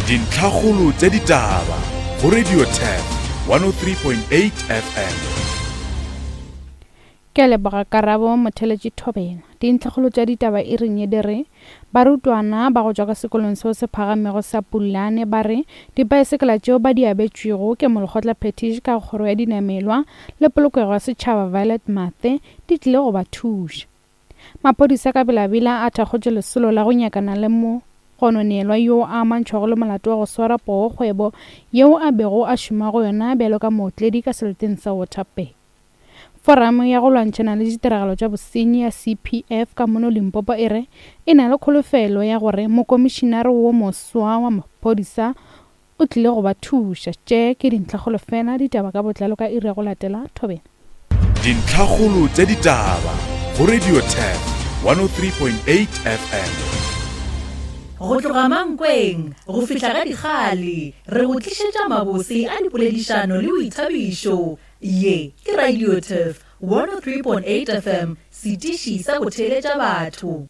Dintlhakgolo tša ditaba go Radio Turf 103.8 FM. Ke a leboga Karabo Motheletši Thobela. Dintlhakgolo tša ditaba e reng ye di re, Barutwana ba go tšwa ka sekolong seo se phagamego sa Pulane ba re dipaesekela tšeo ba di abetšwego ke Molekgotla Phethiši ka Kgoro ya Dinamelwa le Polokego ya Setšhaba Violet Mathe di tlile go ba thuša. Maphodisa ka belabela a thakgotše lesolo la go nyakana le mogononelwa yo a amantšhwago le molato wa go swara poo kgwebo yeo a bego a šoma go yona bjalo ka mootledi ka seleteng sa Waterberg. Foramo ya go lwantšhana le ditiragalo tša bosenyi ya CPF ka mono Limpopo e re e na le kholofelo ya gore mokomišinare wo moswa wa maphodisa O tlile go ba thuša. Tše ke dintlhakgolo fela, ditaba ka botlalo ka iri ya go latela. Thobela. Dintlhakgolo tša ditaba go Radio Turf 103.8 FM. Go tloga Mankweng go fihla ga Dikgale, re go tlišetša mabose a dipoledišano le boithabišo. Ye ke Radio Turf 103.8 FM, setiši sa go theeletša batho.